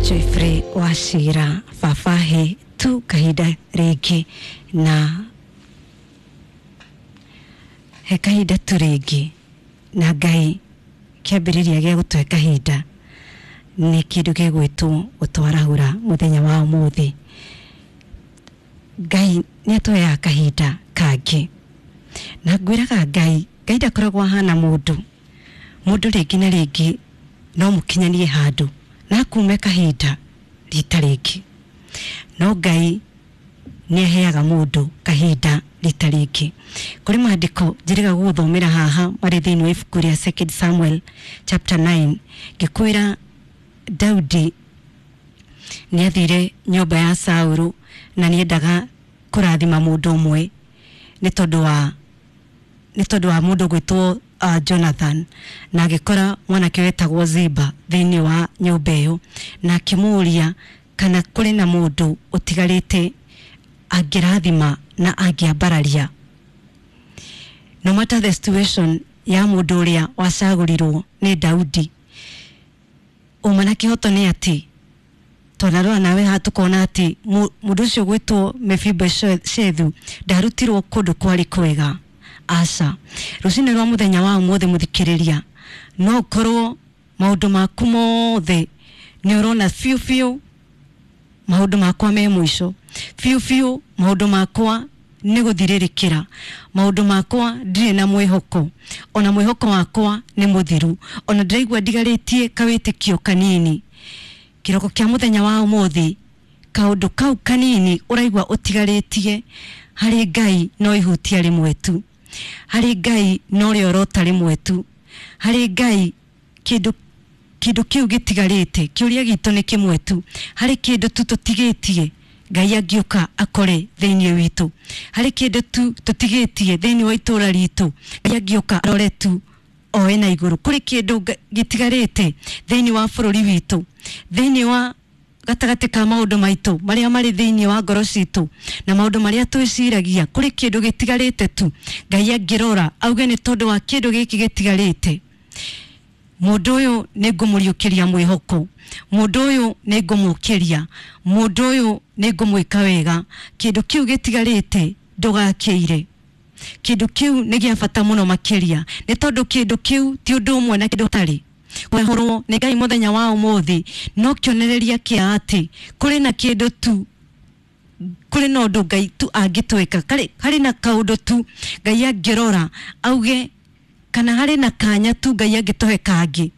Joyfrey Wachira baba he tu kahinda rĩngĩ na he kahinda tu rĩngĩ na Ngai kĩambĩrĩria gĩa gũtũhe kahinda nĩ kĩndũ gĩgwĩtwo gũtwarahũra mũthenya wa ũmũthĩ. Ngai nĩ atũheaga kahinda kangĩ na ngwĩraga Ngai, Ngai ndakoragwo ahana mũndũ. Mũndũ rĩngĩ na rĩngĩ no mũkinyanie handũ na akume kahinda rita rĩngĩ, no Ngai nĩ aheaga mũndũ kahinda rita rĩngĩ. Kũrĩ maandĩko njĩrĩga gũgũthomera haha marĩ thĩinĩ wa ibuku rĩa Second Samuel chapter 9 ngĩkwĩra Daudi nĩ athire nyũmba ya Saũlũ na nĩ endaga kũrathima mũndũ ũmwe nĩ tondũ wa mũndũ gwĩtwo Jonathan, na agĩkora mwanake wetagwo Ziba thĩinĩ wa nyũmba ĩyo na akĩmũũria kana kũrĩ na mũndũ ũtigarĩte angĩrathima na angĩambararia. No matter the situation ya mũndũ ũrĩa wacagũrirwo nĩ Daudi, ũma na kĩhoto nĩ atĩ twanarora nawe haha tukona atĩ mũndũ ũcio gwĩtwo Mefiboshethu ndarutirwo kũndũ kwarĩ kwega. Aca, rũcinĩ rwa mũthenya wa ũmũthĩ mũthikĩrĩria, no ũkorwo maũndũ maku mothe nĩ ũrona biũ biũ maũndũ makwa me mũico, biũ biũ maũndũ makwa nĩ gũthirĩrĩkĩra, maũndũ makwa ndirĩ na mwĩhoko, ona mwĩhoko wakwa nĩ mũthiru, ona ndĩraigua ndigarĩtie kawĩtĩkio kanini. Kĩroko kĩa mũthenya wa ũmũthĩ, kaũndũ kau kanini ũraigua ũtigarĩtie harĩ Ngai no ihutia rĩmwe tu, harĩ Ngai no rĩorota rĩmwe tu, harĩ Ngai kĩndũ kĩu gĩtigarĩte, kĩũria gitũ nĩ kĩmwe tu, harĩ kĩndũ tu tũtigĩtie Ngai angĩũka akore thĩinĩ witũ, harĩ kĩndũ tu tũtigĩtie thĩinĩ wa itũra ritũ Ngai angĩũka arore tu oe na igũrũ. Kũrĩ kĩndũ gĩtigarĩte thĩinĩ wa bũrũri witũ, thĩinĩ wa gatagatĩ ka maũndũ maitũ marĩa marĩ thĩinĩ wa ngoro citũ na maũndũ marĩa twĩciragia, kũrĩ kĩndũ gĩtigarĩte tu Ngai angĩrora auge nĩ tondũ wa kĩndũ gĩkĩ gĩtigarĩte, mũndũ ũyũ nĩ ngũmũriũkĩria mwĩhoko, mũndũ ũyũ nĩ ngũmũkĩria, mũndũ ũyũ nĩ ngũmwĩka wega. Kĩndũ kĩu gĩtigarĩte ndũgakĩire. Kĩndũ kĩu nĩ gĩa bata mũno makĩria, nĩ tondũ kĩndũ kĩu ti ũndũ ũmwe na kĩndũ ũtarĩ. Kũhũrwo nĩ Ngai mũthenya wa ũmũthĩ no kĩonereria kĩa atĩ kũrĩ na kĩndũ tu, kũrĩ na ũndũ Ngai tu angĩtwĩka, harĩ na kaũndũ tu Ngai angĩrora auge, kana harĩ na kanya tu Ngai angĩtũhe kangĩ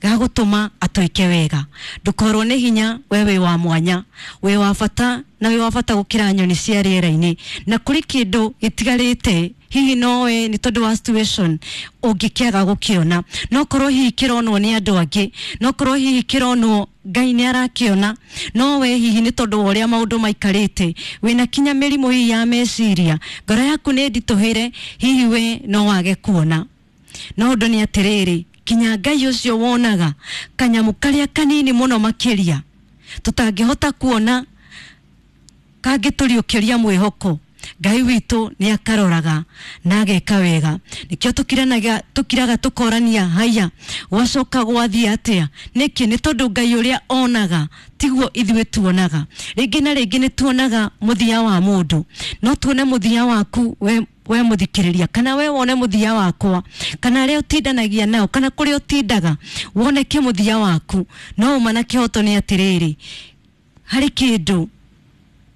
gagũtũma atwĩke wega. Ndũkorwo nĩ hinya, we wĩ wa mwanya, wĩ wa bata na wĩ wa bata gũkĩra nyoni cia rĩera-inĩ, na kũrĩ kĩndũ gĩtigarĩte hihi nowe nĩ tondũ wa situation ũngĩkĩaga gũkĩona, no korwo hihi kĩronwo nĩ andũ angĩ, no korwo hihi kĩronwo Ngai nĩ arakĩona, no we hihi nĩ tondũ wa ũrĩa maũndũ maikarĩte wĩna kinya mĩrimũ hihi ya meciria, ngoro yaku nĩ nditũhĩre, hihi we no wage kuona. No ũndũ nĩ atĩrĩrĩ, kinya Ngai ũcio wonaga kanyamũ karĩa kanini mũno makĩria tũtangĩhota kuona kangĩtũriũkĩria mwĩhoko, Ngai witũ nĩ akaroraga na ageka wega. Nĩkĩo tũkiraga tũkorania, haya gwacoka gwathiĩ atĩa? Nĩkĩ? Nĩ tondũ Ngai ũrĩa onaga tiguo ithuĩ tuonaga. Rĩngĩ na rĩngĩ nĩ tuonaga mũthia wa mũndũ, no tuone mũthia waku we mũthikĩrĩria, kana we wone mũthia wakwa, kana arĩa ũtindanagia nao, kana kũrĩa ũtindaga woneke mũthia waku. No ũma na kĩhoto nĩ atĩrĩrĩ, harĩ kĩndũ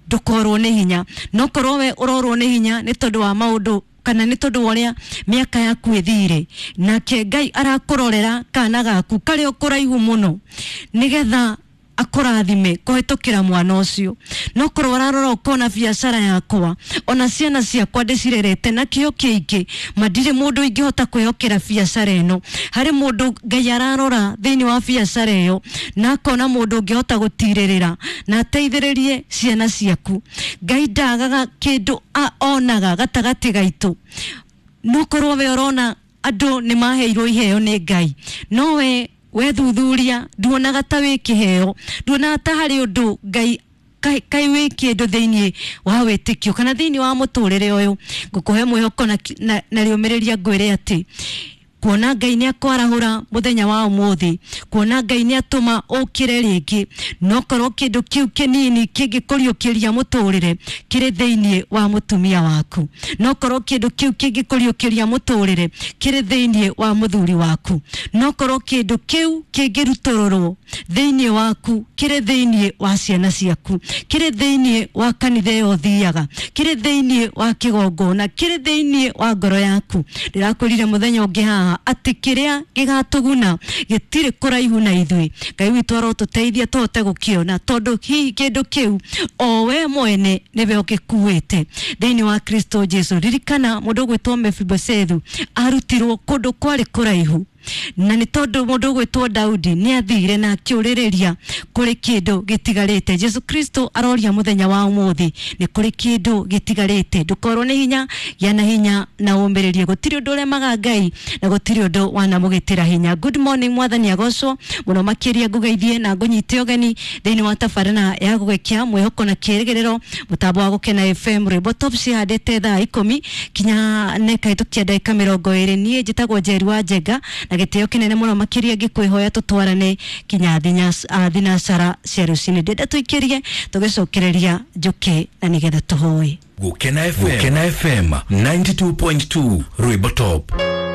ndũkorwo nĩ hinya, no korwo we ũrorwo nĩ hinya nĩ tondũ wa maũndũ kana nĩ tondũ wa ũrĩa mĩaka yaku ĩthire, nake Ngai arakũrorera kana gaku karĩ o kũraihu mũno nĩgetha akũrathime kũhĩtũkĩra mwana ũcio. No korwo ũrarora ũkona biacara yakwa ona ciana ciakwa ndĩcirerete na kĩo kĩingĩ, ma ndirĩ mũndũ ingĩhota kwĩhokera biacara ĩno. Harĩ mũndũ Ngai ararora thĩinĩ wa biacara ĩyo na akona mũndũ ũngĩhota gũtirĩrĩra na ateithĩrĩrie ciana ciaku. Ngai ndagaga kĩndũ onaga gatagatĩ gaitũ. No korwo we ũrona andũ nĩ maheirwo iheo nĩ Ngai, no we wethuthuria nduonaga ta wĩ kĩheo, nduonaga ta harĩ ũndũ Ngai kai wĩ kĩndũ thĩinĩ wa wĩtĩkio kana thĩinĩ wa mũtũrĩre ũyũ. Ngũkũhe mwĩhoko na rĩũmĩrĩria ngwĩre atĩ Kuona Ngai nĩ akwarahũra mũthenya wa ũmũthĩ, kuona Ngai nĩ atũma ũkĩre rĩngĩ, no korwo kĩndũ kĩu kĩnini kĩngĩkũriũkĩria mũtũrĩre kĩrĩ thĩinĩ wa mũtumia waku, no korwo kĩndũ kĩu kĩngĩkũriũkĩria mũtũrĩre kĩrĩ thĩinĩ wa mũthuri waku, no korwo kĩndũ kĩu kĩngĩrutũrũrwo thĩinĩ waku kĩrĩ thĩinĩ wa ciana ciaku, kĩrĩ thĩinĩ wa kanitha ĩyo ũthiaga, kĩrĩ thĩinĩ wa kĩgongona, kĩrĩ thĩinĩ wa ngoro yaku. Ndĩrakwĩrire mũthenya ũngĩ haha atĩ kĩrĩa gĩgatũguna gĩtirĩ kũraihu na ithuĩ. Ngai witũ arotũteithia tũhote gũkĩona, tondũ hihi kĩndũ kĩu o we mwene nĩwe ũgĩkuĩte thĩinĩ wa Kristo Jesu. Ririkana mũndũ ũgwĩtwo Mefibosethu arutirwo kũndũ kwarĩ kũraihu, na nĩ tondũ mũndũ ũgwĩtwo Daudi nĩ athire na akĩũrĩrĩria kũrĩ kĩndũ gĩtigarĩte. Jesu Kristo aroria mũthenya wa ũmũthĩ nĩ kũrĩ kĩndũ gĩtigarĩte. Ndũkorwo nĩ hinya, gĩa na hinya na ũmĩrĩrie. Gũtirĩ ũndũ ũremaga Ngai na gũtirĩ ũndũ wanamũgĩtĩra hinya. Good morning, mwathani agocwo mũno makĩria. Ngũgeithie na ngũnyite ũgeni thĩinĩ wa tabarĩra ya gũgĩkia mwĩhoko na kĩrĩgĩrĩro, mũtambo wa Gũkena FM, rwĩmbo top cihandĩte thaa 10 kinya nekahetũkia ndagĩka 20. Niĩ njĩtagwo Njeri wa Njenga na gĩtĩo kĩnene mũno makĩria ngĩkwĩhoya tũtwarane kinya thinacara cia rũcinĩ. Ndĩenda tũikĩrie tũgĩcokereria njũke na nĩgetha tũhoe. Gũkena FM, Gũkena FM 92.2 Rwĩmbo Top.